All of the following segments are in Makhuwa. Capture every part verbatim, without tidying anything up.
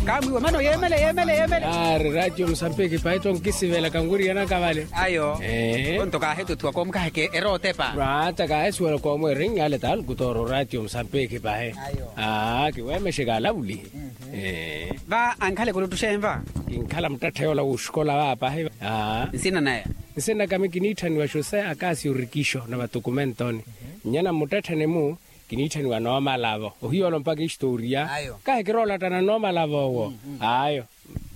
Kaamwiiwa mano yeemele yeemele yeemele. Aari ratio musambiki pahi tto nkisivela kanwiriyanaka vale. Ayo. Onto kaahituthiwa koomu kaheke erootepa. Rata kaahisuwela koomu erinnyale talukutooro ratio musambiki pahi. Ayo. Aa kiweemexeke alavulihi. Va ankhala ekuluttuxenva. Kinkhala muttattheya ola wuuxikola vaapahi. Aa nsina naya. Nsina kami kiniitthaniwa josé akasio rikixo na vatukumentoni. Nnyana mmuttettheni-mu kiniitthaniwa noomalavo ohiya olo mpakha istoriya. Kahi kiroolattana noomalavo owo. Ayo.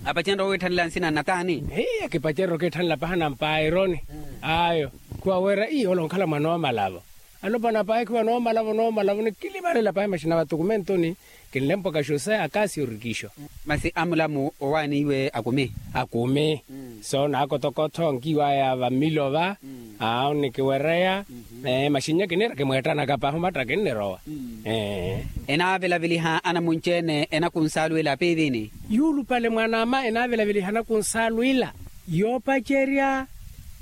Apacerya owiitthanela nsina nnataani. Hiya kipacerya okiitthanela pahi anampaironi. Ayo. Khuwawerya ii olo onkhala mwa noomalavo. Alopwana pahi khiwa noomalavo noomalavo nikilimarela pahi maxina vatukumentoni. Kinlempwaka josé akasio rikixo. Masi amulamu owaaniiwe akumi. Akumi. So naakotokotho nkiwaya vammilo va. Aa onnikiwereya. Maxinnya kiniira kimweettanaka pahi omatta kinnirowa. Enaavelaveliha anamunci-ene enakunsaluwela apiivini. Yuulupale mwan'ama enaavelaveliha anakunsaluwela. Yoopacerya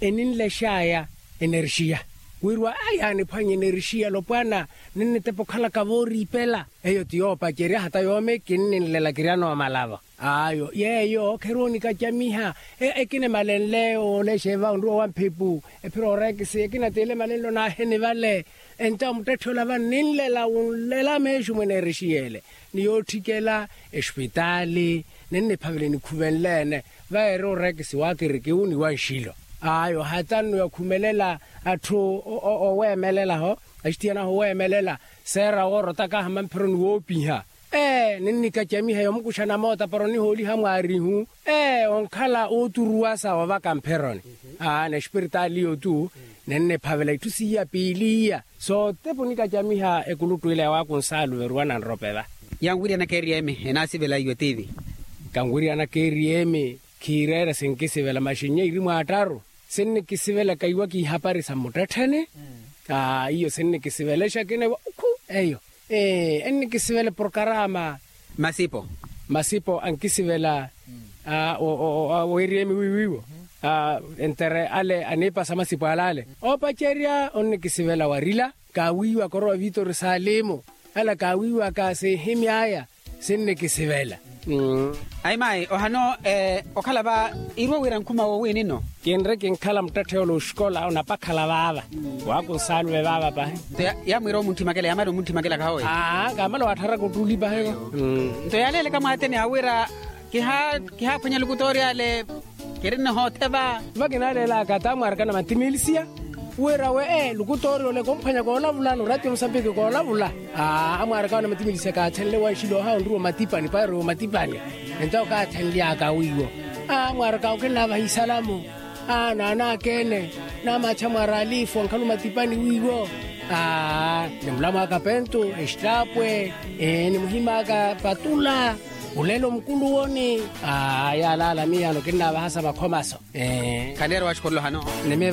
eninlex'aya enerxiya. Wirwa aya aniphwanya enerxiya alopwana ninnitepa okhalaka vooriipela. Eyo ti yoopacerya hata yoome kinninlela kirya noomalavo. Ayo yeeyo kheronika camiha. Ekinimalenle oolexa eva onruwa wa mphepu ephira oreekisi ekina t'ele malenlo naaheni vale. Entawo muttetthi ola vanninlela wunlela meexi mweneerexiyele. Ni yootthikela espitaali ninniphavela enikhuvenle-ene. Vayeera oreekisi wa kirikiwu ni wa nxilo. Ayo hata nno yakhumelela atthu oweemelela-ho axithiyana-ho oweemelela. Seera woorotaka hama mpheroni woopiha. Ee ninnikacamiha yomukuxana moota para onihooliha mwaarihu. Ee onkhala ooturuwasa ovaka mpheroni. Aa na espiritaali iyo-tu ninniphavela itthu siiya piili iya. Sootepa onikacamiha ekuluttu ila yawaakunsalu veruwana nrope va. Yanwiryanaka eriyemi enaasivela iwe tiivi. Kanwiryanaka eriyemi khiireera sinkisivela maxinnya iri mwaattaru. Sinnikisivelaka iwa kiihapari sa mmuttettheni. Aa iyo sinnikisivelexa kina iwa ukhu eyo. Ee ennikisivela eprokarama. Masipo. Masipo ankisivela. Aa weeriyemi wiiwiiwo. Aa entere ale aniipasa masipo ale ale. Oopacerya onnikisivela warila kaawiiwaka orowa vitori salimu. Ala kaawiiwaka sinhimy'aya. Sinnikisivela. Ayi mayi ohano okhala va iriwo wira nkhuma wowiini nno. Kinri kinkhala muttetthe yoola oxikola onapakhala vaava. Waakunsaluve vaava pahi. Nto yamwiira omuntthimake ale yaamala omuntthimake ale akhahowe. Aa kaamala wattharaka ottuli pahi. Nto yaaleeleka mwaateni awira kihaaphwanya lukutoori ale. Kirinna hoothe va. Vakinaalelaka ata amwaaraka na matimilisiya. Wira we ee lukutoori ole komphwanya koolavula no ratio musambiki koolavula. Aa amwaaraka na matimilisiya kaathenle wanxilo ohawa onruwa omatipani paari omatipani. Entawo kaathenly'aka wiiwo. Aa amwaaraka okinnaavaha isalamu. Aa naanaakene. Naamaacha mwaari alifu ankhala omatipani wiiwo. Aa ni mulamw'aka pentu exitaapwe. Ee ni muhim'aka patula. Olelo mukuluwoni. Aa yaalaala miyaano kinnaavahasa makhomaso. Ee khaleero waxikolela ohano. Nimi.